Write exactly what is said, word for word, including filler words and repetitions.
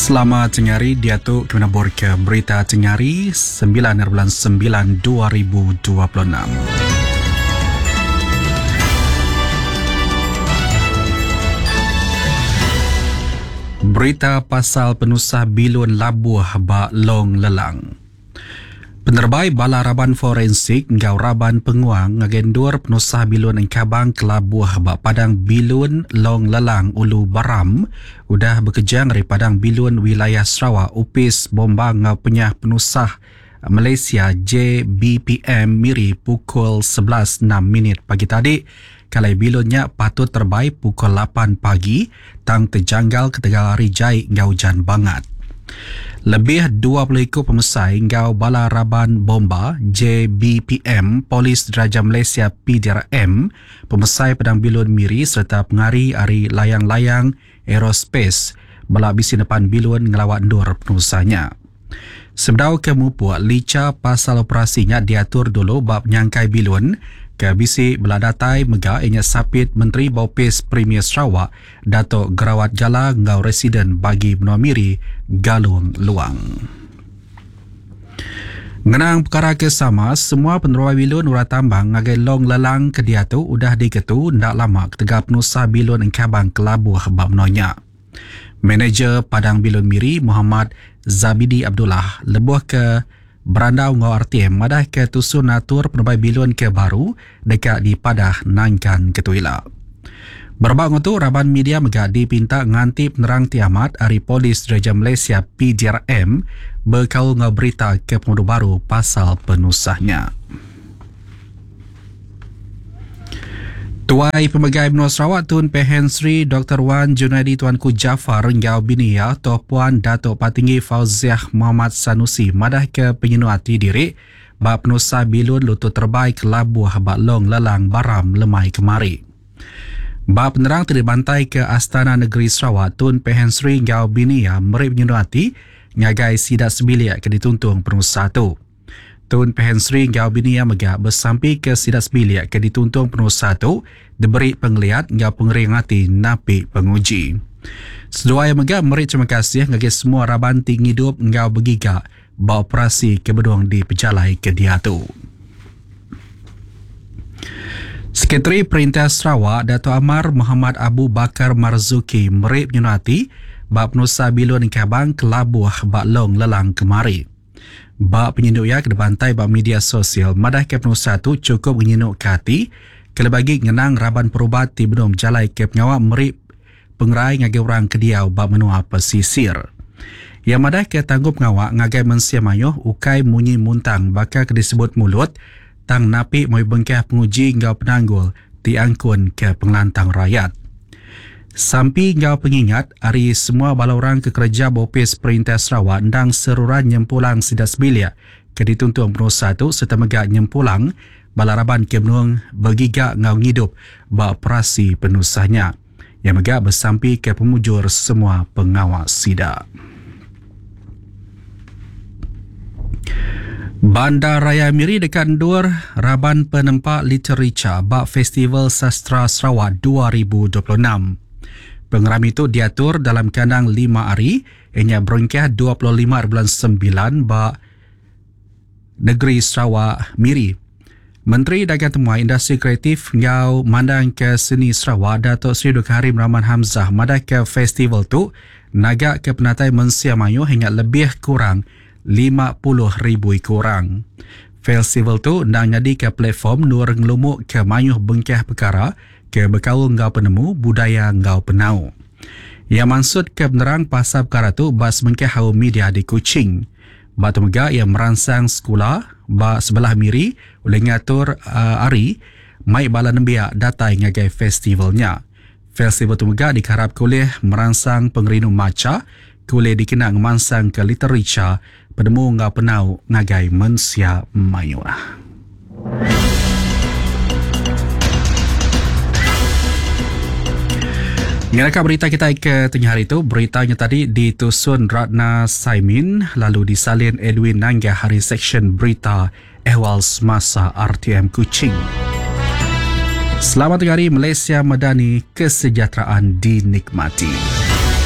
Selamat tengah hari diatu kena ke berita tengah hari sembilan bulan sembilan dua ribu dua puluh enam. Berita pasal penusah bilun labuh ba Long Lelang. Penerbai bala raban forensik ngau raban penguang ngagendur penusah bilun engkabang kelabuh ba padang bilun Long Lelang Ulu Baram udah bekejang dari padang bilun wilayah Sarawak Upis Bomba ngau Penyah Penusah Malaysia J B P M Miri pukul sebelas enam minit pagi tadi. Kalai bilunnya patut terbaik pukul lapan pagi tang terjanggal ketegal hari jai ngau hujan bangat. Lebih dua puluh ikut pemesai ngau bala raban bomba J B P M Polis Diraja Malaysia P D R M pemesai pedang bilun Miri serta pengari ari layang-layang aerospace bala bisi depan bilun ngelawat ndur penusahnya. Sebedau ke mupuk lica pasal operasinya diatur dulu bab penyangkai bilun ke bisi bela datai mega inya sapit Menteri Bopis Premier Sarawak Datuk Gerawat Gala ngau Residen bagi Menua Miri Galung Luang. Ngenang perkara ke sama, semua peneruai bilun urat tambang ngagai Long Lelang ke diatu udah diketu ndak lama ketegal penusah bilun engkabang kelabuh bab menonya. Manager Padang Bilun Miri Muhammad Zabidi Abdullah lebuh ke berandau ngau R T M madah ke tusun atur peneruai bilun ke baru dekat di Padah Nangkan Ketuila. Berbak ngutu raban media mega dipinta nganti penerang tiamat ari Polis Diraja Malaysia P D R M berkaul ngau berita ke pengudu baru pasal penusahnya. Tuai Pemegai Menua Sarawak Tun Pehin Sri Doktor Wan Junaidi Tuanku Jaafar ngau bini ya Toh Puan Datuk Patinggi Fauziah Muhammad Sanusi madah ke penyenu hati diri bak penusah bilun lutut terbaik labuh bak Long Lelang Baram lemai kemari. Bak penerang terbantai ke Astana Negeri Sarawak Tun Pehin Sri ngau bini ya meri penyenu hati ngagai sidak sebilik ke dituntung penusah tu. Tun Pehin Sri ngau bini yang mega bersampi ke sidak sebilik ke dituntung penusah tu diberi penglihat ngau pengering hati napi penguji. Seduai yang mega meri terima kasih ngagai semua raban tinggi hidup ngau bergiga beroperasi ke bedung di pejalai ke diatu. Sekretari Perintah Sarawak Dato' Amar Muhammad Abu Bakar Marzuki meri penyenu hati bak penusah bilun kabang kelabuh bak Long Lelang kemari. Bak penyinduk ya ke bantai bak media sosial madah ke penusah tu cukup menyinuk ke hati kelebagi ngenang raban perubat ti belum jalai ke pengawak meri pengerai ngagai orang kediau bak menua pesisir. Yang madah ke tanggup pengawak ngagai mensia mayuh ukai munyi muntang bakal ke disebut mulut tang napi moi bengkah penguji ngau penanggul ti angkun ke pengelantang rakyat. Sampi ngau pengingat hari semua bala orang ke kerja bopis Perintah Sarawak ndang seruran nyempulang sidak sebilik ke dituntung penusah tu serta mega nyempulang bala raban ke menung bergiga ngau ngidup ba operasi penusahnya. Yang mega bersampi ke pemujur semua pengawal sidak. Bandar Raya Miri dekat ndur raban penempak literature bak Festival Sastra Sarawak dua ribu dua puluh enam. Pengeram itu diatur dalam kandang lima hari, ianya berengkah dua puluh lima bulan sembilan bak Negeri Sarawak Miri. Menteri Dagang Temuai Industri Kreatif ngau Mandang ke Seni Sarawak Datuk Seri Dr Karim Rahman Hamzah madah ke festival tu naga ke penatai mensia mayuh hingga lebih kurang lima puluh ribu orang. Festival tu nak jadi ke platform nur ngelumuk ke mayuh bengkah perkara ke berkaul ngau penemu budaya ngau penau. Yang maksud ke penerang pasal perkara tu bas bengkah hau media di Kuching. Batu mega yang merangsang sekolah ba sebelah Miri oleh ngatur uh, ari mai bala nembiak datai ngagai festivalnya. Festival tu mega diharap oleh merangsang pengerinu maca boleh dikenang ngemansang ke literature penemu ngau penau ngagai mensia mayuh. Ngelakak berita kita ke tengah hari itu, beritanya tadi ditusun Ratna Saimin lalu disalin Edwin Nangga hari seksyen berita Ehwal Semasa R T M Kuching. Selamat tengah hari Malaysia Madani, kesejahteraan dinikmati.